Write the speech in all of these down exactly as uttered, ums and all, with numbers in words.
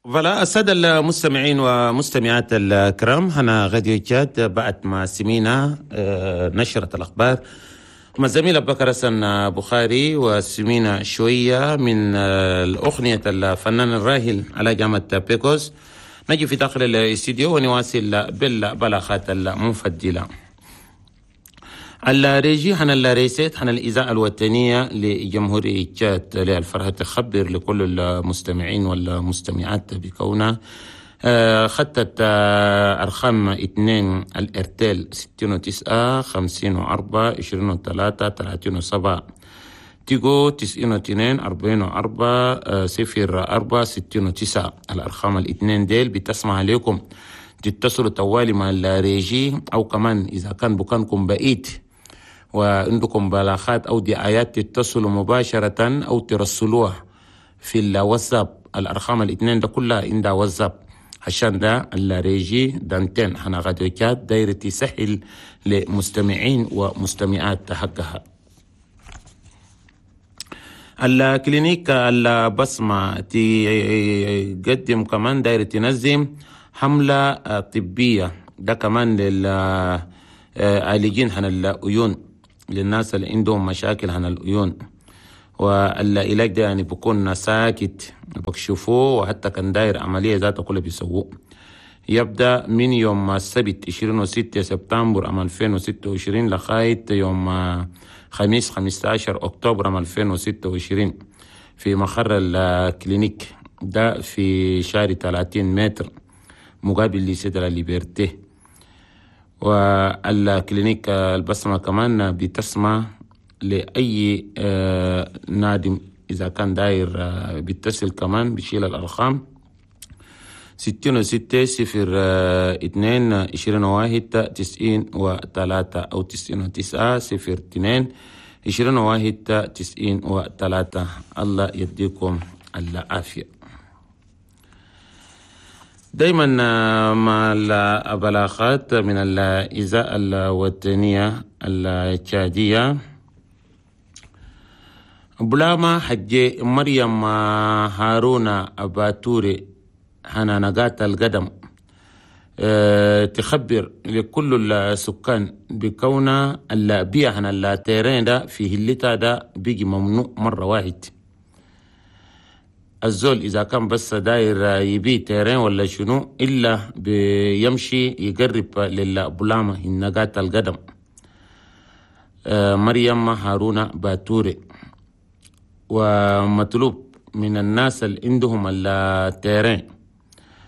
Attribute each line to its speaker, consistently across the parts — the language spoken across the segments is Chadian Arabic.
Speaker 1: voilà السادة المستمعين ومستمعات الكرام، هنا راديو تشاد بعد ما سمينا آه، نشرة الأخبار مع الزميل أبو بكر حسن بخاري، وسمينا شوية من آه، الأغنية الفنان الراحل على جامعة بيكوس. نجي في داخل الاستديو ونواصل بالبلاغات المنفدلة. ال régie هنا ال recettes هنا الإذاعة الوطنية لجمهورية تشاد للفرحة تخبر لكل المستمعين والمستمعات بكونها آه، خطت آه، أرقام اثنين الإرتيل ستين وتسعة خمسين وأربعة عشرين وثلاثة ثلاثين وسبعة، تيجو تسعين واثنين أربعين وأربعة آه، صفر أربعة ستين وتسعة. الأرقام الاثنين ديل بتسمع عليكم تتصلوا توالي مع ال régie، أو كمان إذا كان بكانكم بعيد وعندكم بلاغات أو دعايات تتصلوا مباشرة أو ترسلوها في الواتساب. الأرقام الاثنين ده كلها عندها واتساب، عشان ده ال régie d'antenne هنا راديو تشاد دايرة تسهل لمستمعين ومستمعات حقها. ال clinique البصمة تقدم كمان دايرة تنظم حملة طبية ده كمان للعالجين عن العيون، للناس اللي عندهم مشاكل عن العيون، والعلاج ده يعني بيكون ساكت بكشفوه، وحتى كان داير عملية ذاته كله بيسووه. يبدأ من يوم السبت عشرين وستة سبتمبر عام ألفين وستة وعشرين لغاية يوم خميس خمستاشر أكتوبر عام ألفين وستة وعشرين في مقر ال clinique ده في شارع ثلاثين متر مقابل lycée de la Liberté. وال clinique البسمة كمان بتسمع لأي آه، نادم إذا كان داير آه، بيتصل كمان بيشيل الأرقام ستين وستة صفر آه، اتنين عشرين وواحد تسعين وتلاتة أو تسعين وتسعة صفر اتنين عشرين وواحد تسعين وتلاتة. الله يديكم العافية. دايما مع البلاغات من الإذاعة الوطنية التشادية، بلاما حجي مريم هارون باتوري هنا نقات القدم أه تخبر لكل السكان بكون البيع هنا ال terrain ده في هلتا ده بيجي ممنوع مرة واحد. الزول إذا كان بس داير يبيع terrain ولا شنو إلا بيمشي يقرب للبلامة النقات القدم آه، مريم هارون باتوري. ومطلوب من الناس اللي عندهم ال terrain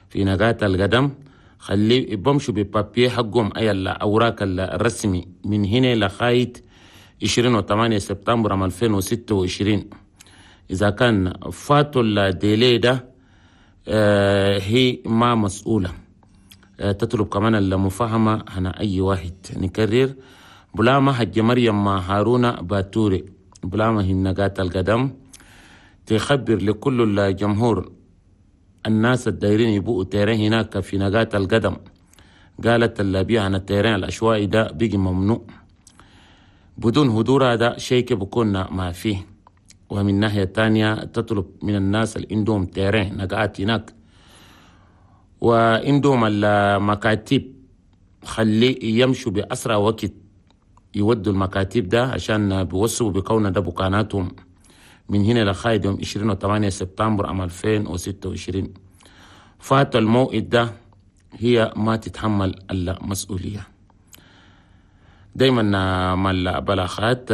Speaker 1: في نقات القدم خلي بمشوا ب papiers حقهم، أي الأوراق الرسمي، من هنا لغاية عشرين وثمانية سبتمبر عام ألفين وستة وعشرين. إذا كان فاتوا ال délai ده آه، هي ما مسؤولة. آه، تطلب كمان المفاهمة هنا أي واحد. نكرر، بلاما حج مريم هارون باتوري بلاما هي نقات القدم تخبر لكل الجمهور الناس الدايرين يبقوا terrain هناك في نقات القدم. قالت البيع عن ال terrain العشوائي ده بيجي ممنوع، بدون هدور هذا شيء بكون ما فيه. ومن ناحية تانية تطلب من الناس اللي عندهم terrain نقات هناك وعندهم المكاتب خلي يمشوا بأسرع وقت يودوا المكاتب ده عشان بيوصوا بكون ده بكاناتهم من هنا لغاية يوم عشرين وثمانية سبتمبر عام ألفين وستة وعشرين. فات الموعد ده هي ما تتحمل المسؤولية. دايما مع البلاغات،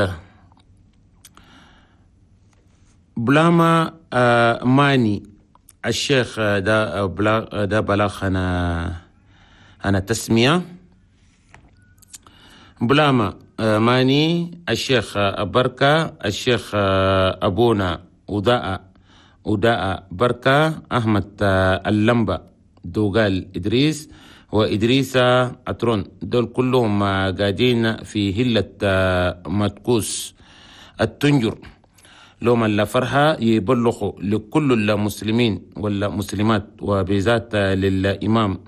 Speaker 1: بلاما آه، ماني الشيخ ده بلاغ ده بلاغ أنا أنا تسمية بلاما آه، ماني الشيخ بركة الشيخ آه، أبونا وداء وداء بركة أحمد اللمبة دوغال إدريس وإدريس أترون، دول كلهم قاعدين في هلة مدكوس التنجر. لهم الفرحة يبلغوا لكل المسلمين والمسلمات وبذات للإمام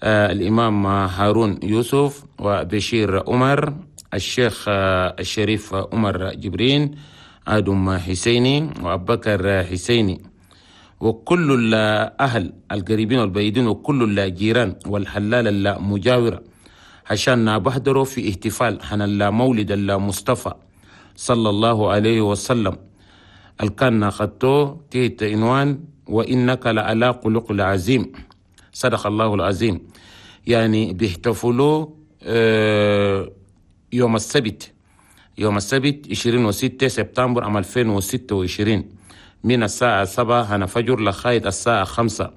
Speaker 1: آه الإمام هارون يوسف وبشير عمر الشيخ آه الشريف عمر جبرين آدم حسيني وأبو بكر حسيني. وكل الأهل القريبين والبعيدين وكل الجيران والحلال المجاورة عشان بحضروا في احتفال حن المولد المصطفى صلى الله عليه وسلم الكان خطو تحت عنوان وإنك لعلى خلق العظيم، صدق الله العظيم. يعني بيحتفلوا يوم السبت، يوم السبت عشرين وستة سبتمبر عام ألفين وستة وعشرين من الساعة سبعة هنا فجر لغاية الساعة خمسة،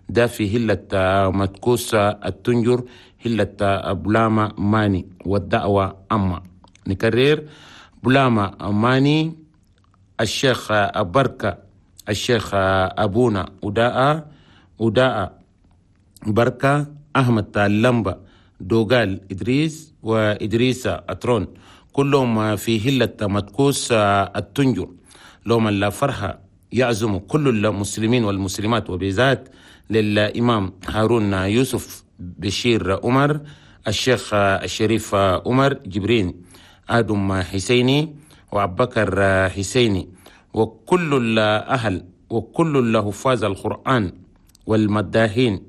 Speaker 1: ده في هلة متكوس التنجر، هلة بلاما ماني، والدعوة عامة. نكرر، بلاما ماني، الشيخ بركة، الشيخ أبونا أداء أداء بركة أحمد لمبة دوغال إدريس وإدريس أترون، كلهم في هلة متكوس التنجر. لهم الفرحة يعزم كل المسلمين والمسلمات، وبذات للإمام هارون يوسف بشير عمر، الشيخ الشريف عمر جبرين، آدم حسيني وأبو بكر حسيني، وكل الأهل وكل الحفاظ القرآن والمداحين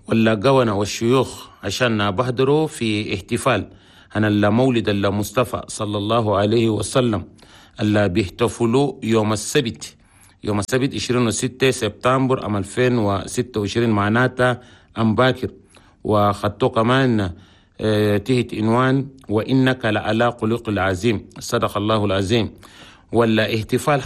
Speaker 1: والقونة والشيوخ عشان بحضروا في احتفال عن المولد المصطفى صلى الله عليه وسلم اللي بيحتفلوا يوم السبت، يوم السبت عشرين وستة سبتمبر عام ألفين وستة وعشرين، معناتها أم باكر. وخطوا كمان تحت عنوان وإنك لعلى خلق العظيم، صدق الله العظيم. ولا احتفال